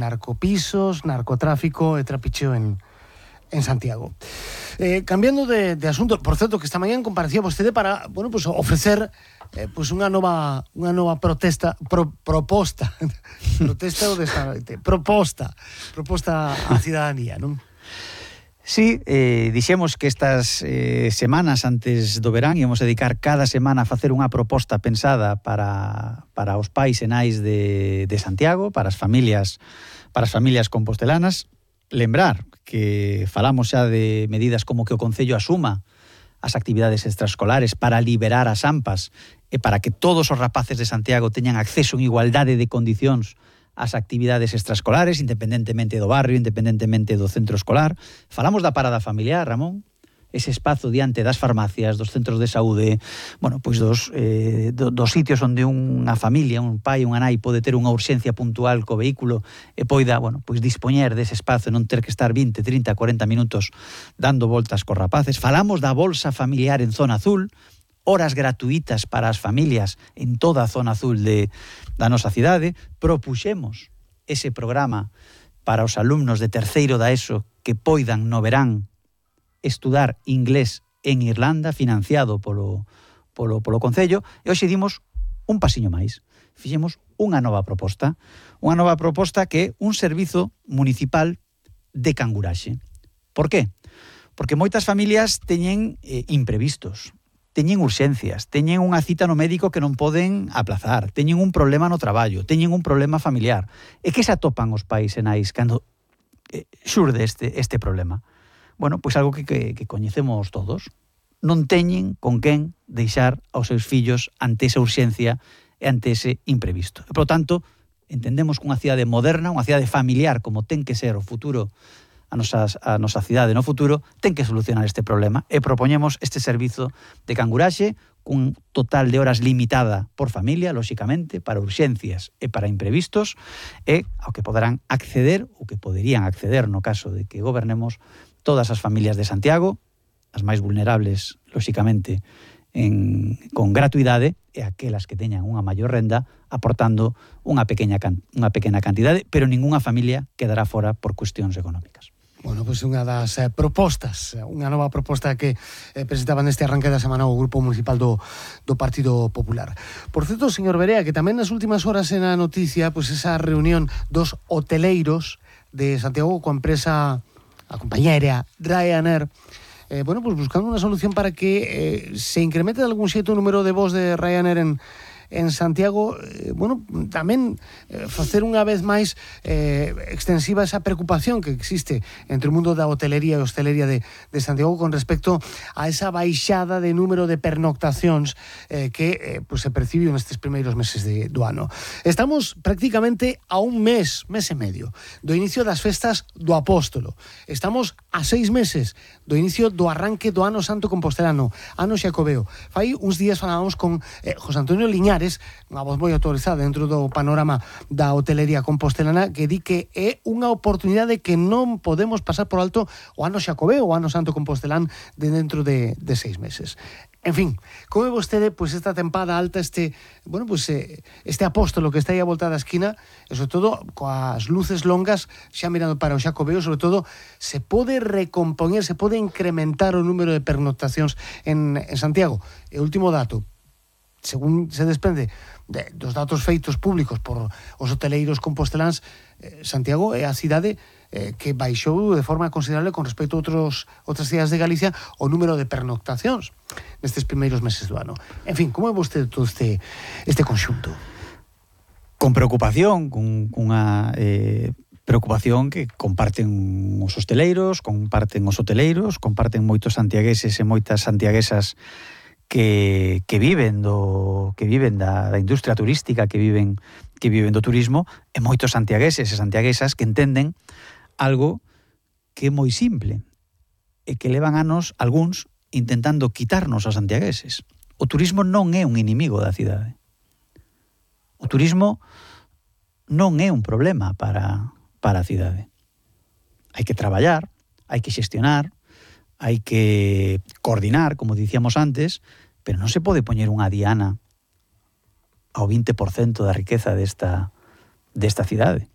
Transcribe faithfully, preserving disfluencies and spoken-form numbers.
narcopisos, narcotráfico e trapicheo en, en Santiago. Eh, cambiando de, de asunto, por certo, que esta mañá comparecía vostede para, bueno, pues ofrecer eh, pues unha nova unha nova protesta, pro, proposta, protesta ou destarete, proposta, proposta á cidadanía, non? Sí, eh, dixemos que estas eh, semanas antes do verán íamos dedicar cada semana a facer unha proposta pensada para, para os pais e nais de, de Santiago, para as familias, para as familias compostelanas. Lembrar que falamos xa de medidas como que o Concello asuma as actividades extraescolares para liberar as AMPAs e para que todos os rapaces de Santiago teñan acceso en igualdade de condicións as actividades extraescolares, independentemente do barrio, independentemente do centro escolar. Falamos da parada familiar, Ramón, ese espazo diante das farmacias, dos centros de saúde, bueno, pois dos, eh, do, dos sitios onde unha familia, un pai, unha nai pode ter unha urxencia puntual co vehículo e poida, bueno, pois dispoñer dese espazo e non ter que estar vinte, trinta, cuarenta minutos dando voltas cos rapaces. Falamos da bolsa familiar en zona azul, horas gratuitas para as familias en toda a zona azul de, da nosa cidade. Propuxemos ese programa para os alumnos de terceiro da ESO que poidan no verán estudar inglés en Irlanda, financiado polo, polo, polo Concello, e hoxe dimos un pasiño máis. Fixemos unha nova proposta, unha nova proposta que é un servizo municipal de canguraxe. Por qué? Porque moitas familias teñen eh, imprevistos, teñen urxencias, teñen unha cita no médico que non poden aplazar, teñen un problema no traballo, teñen un problema familiar. E que se atopan os pais e nais cando eh, xurde este, este problema? Bueno, pois algo que, que, que coñecemos todos. Non teñen con quen deixar aos seus fillos ante esa urxencia e ante ese imprevisto. E, por tanto, entendemos que unha cidade moderna, unha cidade familiar, como ten que ser o futuro, a nosa, a nosa cidade no futuro, ten que solucionar este problema e propoñemos este servizo de canguraxe cun total de horas limitada por familia, lóxicamente, para urxencias e para imprevistos, e ao que poderán acceder, ou que poderían acceder no caso de que gobernemos, todas as familias de Santiago, as máis vulnerables, lóxicamente, en, con gratuidade, e aquelas que teñan unha maior renda, aportando unha pequena, unha pequena cantidade, pero ningunha familia quedará fora por cuestións económicas. Bueno, pois unha das eh, propostas, unha nova proposta que eh, presentaban neste arranque da semana o Grupo Municipal do, do Partido Popular. Por certo, señor Berea, que tamén nas últimas horas en a noticia, pois esa reunión dos hoteleiros de Santiago coa empresa, a compañía aérea Ryanair, eh, bueno, pues buscando unha solución para que eh, se incremente de algún xeito o número de voos de Ryanair en en Santiago, eh, bueno, tamén eh, facer unha vez máis eh, extensiva esa preocupación que existe entre o mundo da hotelería e hostelería de, de Santiago con respecto a esa baixada de número de pernoctacións eh, que eh, pues se percibiu nestes primeiros meses de, do ano. Estamos prácticamente a un mes, mes e medio, do inicio das festas do Apóstolo. Estamos a seis meses do inicio do arranque do Ano Santo Compostelano, Ano Xacobeo. Fai uns días falábamos con eh, José Antonio Liñares, unha voz moi autorizada dentro do panorama da hotelería compostelana, que di que é unha oportunidade que non podemos pasar por alto o Ano Xacobeo, o Ano Santo Compostelán, de dentro de, de seis meses. En fin, como é vostede, pois esta tempada alta, este, bueno, pois este Apóstolo que está aí a volta da esquina, e sobre todo coas luces longas xa mirando para o Xacobeo, sobre todo se pode recompoñer, se pode incrementar o número de pernoctacións en, en Santiago. E último dato, según se desprende de, dos datos feitos públicos por os hoteleiros composteláns, eh, Santiago é a cidade eh, que baixou de forma considerable con respecto a outros, outras cidades de Galicia o número de pernoctacións nestes primeiros meses do ano. En fin, como é vostede todo este, este conxunto? Con preocupación, con unha eh, preocupación que comparten os hosteleiros, comparten os hoteleiros, comparten moitos santiagueses e moitas santiaguesas que, que viven do que viven da, da industria turística, que viven que viven do turismo, e moitos santiagueses e santiaguesas que entenden algo que é moi simple e que levan anos algúns intentando quitarnos aos santiagueses. O turismo non é un inimigo da cidade. O turismo non é un problema para, para a cidade. Hai que traballar, hai que xestionar, hai que coordinar, como dicíamos antes, pero non se pode poñer unha diana ao vinte por cento da riqueza desta, desta cidade.